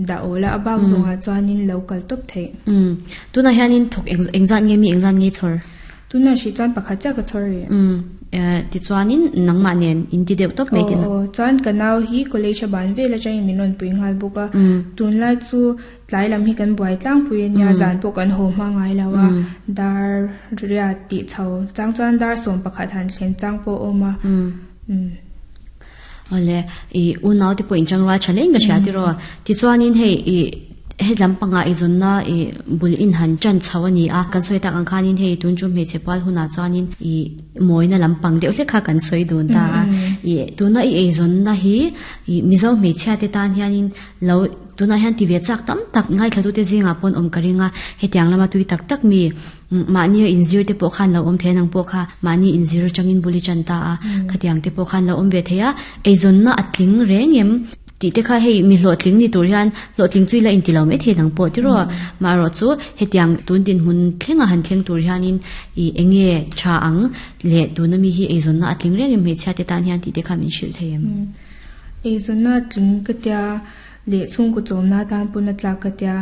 dah awl a, a bak zawngah chuanin lo kal tawp theih. Umm tunah hianin thawk eng engzat nge mi engzat nge chhawr? Tunah hrih chuan pakhat chiah ka chhawr rih. Umm tichuanin nangmah nen in ti deuh tawp mai tihna. Aw aw chuan ka nau hi college a ban vel atangin min rawn pui nghal bawk a, tunlai chu tlai lam hi kan buai tlangpui a nia, zan pawh kan haw hma ngai lo a, dar riat tih chho chang chuan dar 11 han thlen chang pawh a awm a. Umm. Awle, i unau te pawh inchang rual tha hle in ka hria tiraw. Tichuanin hei i he lampangah i zawnna i bul in han tan chho a ni a, kan sawi tak ang khanin hei tun chu hmeichhe pual hunah chuanin i mawina lampang deuh hlek kha kan sawi dun ta a. I tuna i eizawnna hi i Mizo hmeichhia te tan hianin lo tunah hian ti ve chak tam tak ngaithlatute zingah pawn awm ka ring a, hetiang lama tui tak tak mi Mahni a inzir te pawh khan lo awm thei a, nang pawh kha mahni inzir atangin bul i chan ta a, khatiang te pawh khan lo awm ve thei a, eizawnna a tling reng em tih te kha hei mi hlawhtling ni tur hian hlawhtling chu i la inti lo mai thei nang pawh tiraw maherawh chu hetiang tun dinhmun thlenga han thleng tur hianin ih eng nge tha ang leh tuna mi hi eizawnna a tling reng em hmeichhia te tan hian tih te kha min hrilh thei em. Eizawnna a tling ka tia. Leh chhungkaw chawmna atan pawn a tlak ka tia.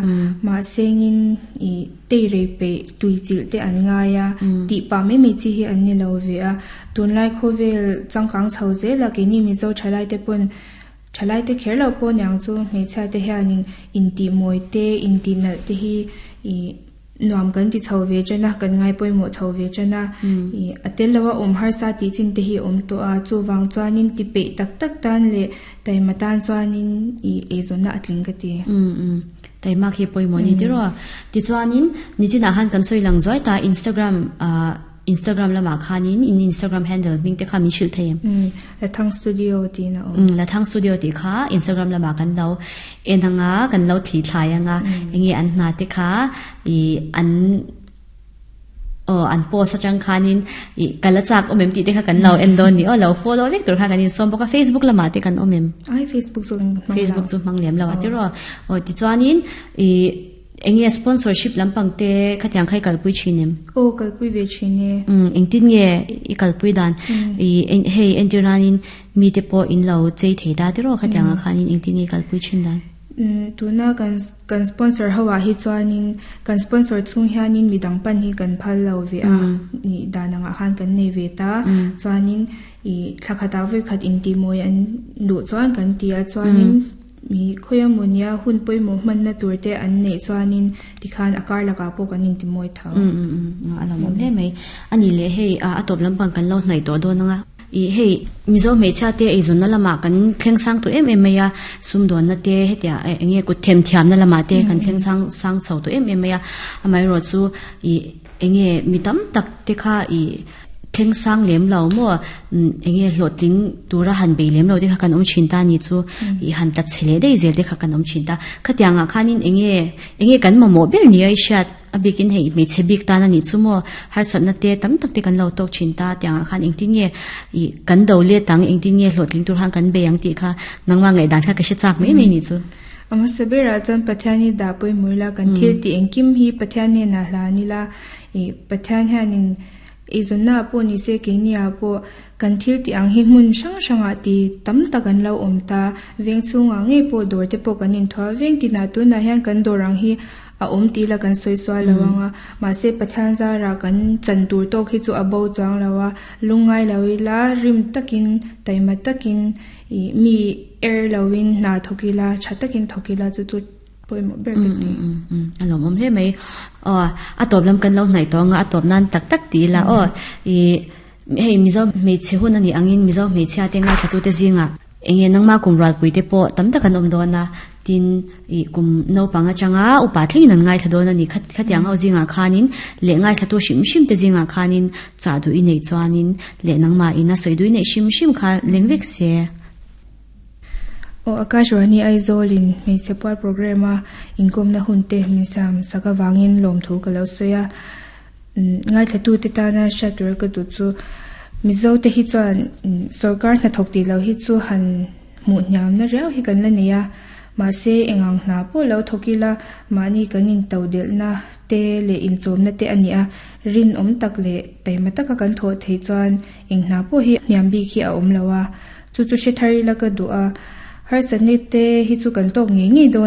Mahsengin ih teirei peih tui chilh te an ngai a, tih pah mai mai chi hi an ni lo ve a. Tunlai khawvel changkang chho zel a, keini Mizo thalai te pawn thalai te kher lo pawh niang chu hmeichhia te hianin intih mawi te, intih nalh te hi ih Nuam kan ti chho ve ṭan a, kan ngai pawimawh chho ve ṭan a. Ih, a tel loa awm harsa tih chin te hi a awm tawh a, chuvang chuanin ti peih tak tak tan leh taima tan chuanin ih eizawnna a tling ka ti. Umm umm, taima khi pawimawh ni tiraw. Tichuanin nichinah khan kan sawi lang zuai ta Instagram ah Instagram lamah khanin in Instagram handle hming te kha min hrilh thei em? Umm, Lathang Studio tiin a awm. Umm, Lathang Studio tih kha Instagram lamah kan lo en ang a, kan lo thli thlai ang a, enge an hna te kha ih an aw an post atang khanin ih ka la chak awm em tih te kha kan lo en dawn ni aw, lo follow vek tur kha kan insawm bawk a, Facebook lamah te kan awm em? Ai Facebook chu kan hmang lo. Facebook chu hmang lem lo a tiraw. Aw tichuanin ih Enge sponsorship lampang te khatiang kha i kalpui thin em? Aw kalpui ve thin e. Umm engtin nge i kalpui dan? I hei entir nanin mite pawh in lo chei thei ta tiraw khatiang ah khanin engtin nge i kalpui thin dan? Umm tuna kan kan sponsor ho ah hi chuanin kan sponsor chhung hianin midang pan hi kan phal lo ve a nih dan angah khan kan nei ve ta chuanin i thla khatah vawikhat intihmawi an duh chuan kan ti a chuanin Mi khawi a mawnia hun pawimawh hmanna tur te an neih chuanin tikhan a kar lakah pawh kan intimawi tho. Umm umm umm a lawmawm hle mai. A nih leh hei a tawp lampang kan lo hnaih tawh dawn ang a. Ih hei Mizo hmeichhia te eizawnna lamah kan thleng sang tawh em em mai a, sumdawnna te hetia eng nge kut themthiamna lamah te kan thleng sang sang chho tawh em em mai a. Amaherawhchu chu ih eng nge mi tam tak te kha ih Thleng sang lem lo maw? Eng nge hlawhtling tura han bei lem lo te kha kan awm thin ta ni chu i han tlat chhe leh daih zel te kha kan awm thin ta. Khatiangah khanin eng nge eng nge kan mamawh ber nia i hriat a bikin hei hmeichhe bik tan a nih chu maw? Harsatna te tam tak te kan lo tawk thin ta tiangah khan engtin nge i kan do let ang engtin nge hlawhtling tur khan kan bei ang tih kha nangmah ngaihdan kha ka hre chak mai mai ni chu. A hmasa berah chuan Pathian hi dah pawimawh ila kan thil tih engkim hi Pathian hnenah hlan ila i Pathian hianin Eizawnna ah pawh ni se keini ah pawh kan thil tih ang hi hmun hrang hrangah ti tam tak an lo awm ta. Veng chhungah ngei pawh dawr te pawh kan inthuah veng tinah tunah hian kan dawr ang hi a awm tih la kan sawi sual lo ang a. Mahse Pathian zarah kan chan tur tawk hi chu a bo chuang lo a, lungngai lo ila rim takin taima takin ih mi er loin hna thawk ila tha takin thawk ila chu chu Pawimawh ber ka ti. A lawmawm hle mai. Aw, a tawp lam kan lo hnaih tawh anga a tawp nan tak tak ti ila aw. I hei Mizo hmeichhe hun a nih angin Mizo hmeichhia te ngaithlatute zingah eng nge nangma kum rualpui te pawh tam tak an awm dawn a, tin i kum naupang atanga upa thlengin an ngaithla dawn a ni. Khatiang ho zingah khanin leh ngaithlatu hrim hrim te zingah khanin chah duh i neih chuanin leh nangmah ina sawi duh i neih hrim hrim kha leng vek se. Aw Akashvani Aizawl in hmeichhe pual program a inkawmna hun te min siam sak avangin lawmthu ka lo sawi a. Ngaithla te tana hriat tura ka duh chu Mizo te hi chuan sorkar hnathawk tih loh hi chu han hmuh hniamna riau hi kan la nei a. Mahse engang hna pawh lo thawk ila mahni kan into delhna te leh inchawmna te a ni a. Rinawm tak leh taima taka kan thawh theih chuan eng hna pawh hi hniam bik hi a awm lo a. Chu chu hre thar ila ka duh a, harsatna te hi chu kan tawk ngei ngei dawn.